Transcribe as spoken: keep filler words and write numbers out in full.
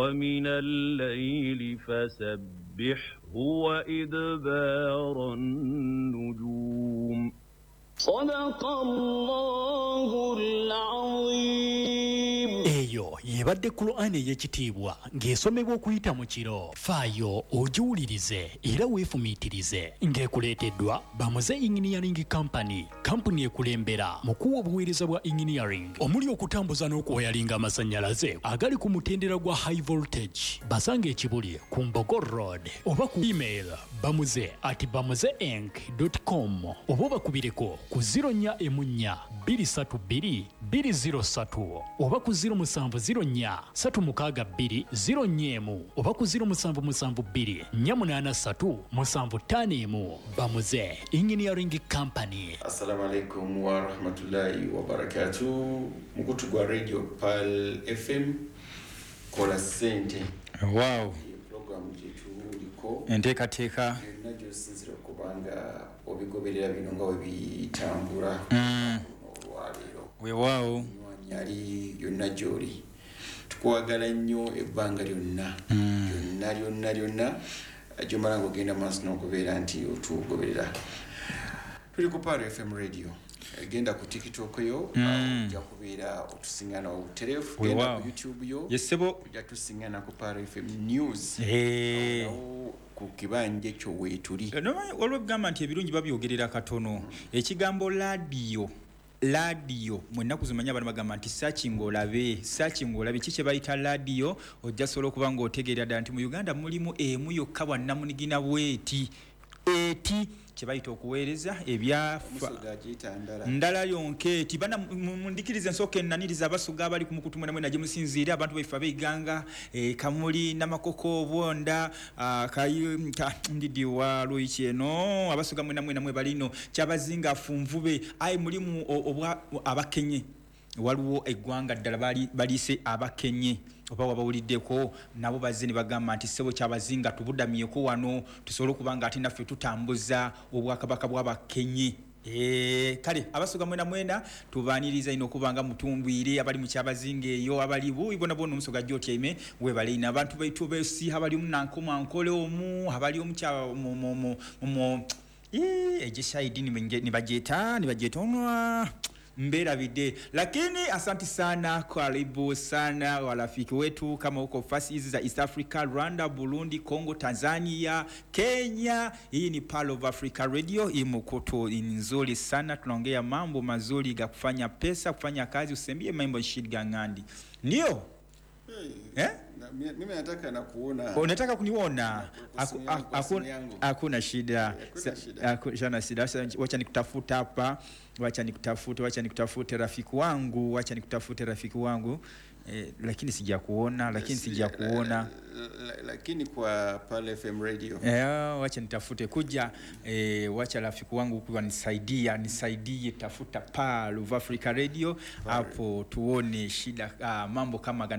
ومن الليل فسبحه وإدبار النجوم. صدق الله العظيم. Eyo yebadde Qur'ani ey'ekitiibwa ng'esomebwa okuyita mu kiro. Faayo ogiwulirize era weefumiitirize ng'ekuleeteddwa Bamuze Engineering Company, kampuni ekulembera mu kuwa obuweereza bwa engineering omuli okutambuza n'okuwayalinga amasannyalaze agali ku mutendera gwa high voltage. Basanga ekibuli ku Mbogo Road oba ku email bamuze at bamuze inc dot com oba obakubireko ku zero nnya emu nnya bbiri ssatu bbiri bbiri zero ssatu oba ku zero musanvu zero nnya ssatu mukaaga bbiri zero nnya emu oba ku zero musanvu musanvu bbiri nnya munaana ssatu musanvu ttaano emu. Bamuze Engineering Company. Assalamu alaikum wa rahmatullahi wa barakatuh. Mukutu gwa Radio Pearl F M kola ssente. Wow. Program gyetuliko enteekateeka yonna gy'osinziira okubanga obigoberera bino nga bwe bitambula Mm. olwaleero. Weewaawo. Yali yonna gy'oli. Tukwagala nnyo ebbanga lyonna. Mm. Lyonna, lyonna, lyonna. Gy'omala ng'ogenda maaso n'okubeera nti otugoberera. Tuli ku Pearl F M Radio. Genda ku TikTok yo, Mm. ojja kubeera otusingana obutereevu. Weewaawo. Genda ku YouTube yo. Yes, ssebo. Ojja tusingana ku Pearl F M News. Hey. Awo ku kibanja ekyo weetuli. Eh, no, waliwo ebigamba nti ebirungi babyogerera katono. Ekigambo laadiyo, laadiyo, mu nnaku zino abantu bagamba nti searching olabe, searching olabe, ki kye bayita laadiyo, ojja sobola okuba ng'otegeera ddala nti mu Uganda mulimu emu yokka bwannamunigina bw'eti. Eti kye bayita okuweereza ebyafa. Omusoga agiyita ndala. Ndala yonka eti. Bana, mu-, mundikirize nsooke nnanirize Abasoga abali ku mukutu mwena mwena gye musinziira, abantu baife ab'Eiganga, eh, Kamuli, Namakoko, Obwonda, ah, Kayi-, ka-, Ndidi wa Luiki eno, Abasoga mwena mwena mwe balino, Kyabazinga Funvube, ayi mulimu o-, obwa Abakenye. Waliwo eggwanga ddala bali, baliise Abakenye. Oba wabawuliddeko nabo bazze ne bagamba nti ssebo Kyabazinga tubudamyeko wano tusobole okuba nga ate naffe tutambuza obwakabaka bw'Abakenye. Eh, kale Abasoga mwena mwena tubaaniriza ino okuba nga mutumbwire abali mu Kyabazinga eyo abali buyi bona bona omusoga gy'otyaime webale ino abantu baitu besiiha abali mu Nankoma Nkole omu abali omu kya-, mu, mu, mu, mu, ii, egisaidi ni bagyeta, ni bagyeta onwa mberabidde. Lakini asante sana, karibu sana warafiki wetu kama uko fasi hizi za East Africa, Rwanda, Burundi, Congo, Tanzania, Kenya. Hii ni Pearl of Africa Radio, hii mkoto ni nzuri sana, tunaongea mambo mazuri ya kufanya pesa, kufanya kazi, usembie mambo shida ngandi. Ndio? Hey, Eh? na, mi-, mimi nataka na kuona. Unataka kuniona? Na ku-, Aku-, simu yangu, aku-, simu yangu. Hakuna shida. Hakuna Sa-, shida. Hakuna shida. Sasa wacha nikutafute hapa. Wacha nikutafute, wacha nikutafute rafiki wangu, wacha nikutafute rafiki wangu. Eh, lakini sijakuona, lakini Si-, sijakuona. la-, la-, lakini kwa Pearl F M Radio. Eh, wacha nitafute kuja, eh, wacha rafiki wangu kwa nisaidia, nisaidie tafuta Pearl of Africa Radio Pearl. hapo tuone shida, ah, mambo kama gani.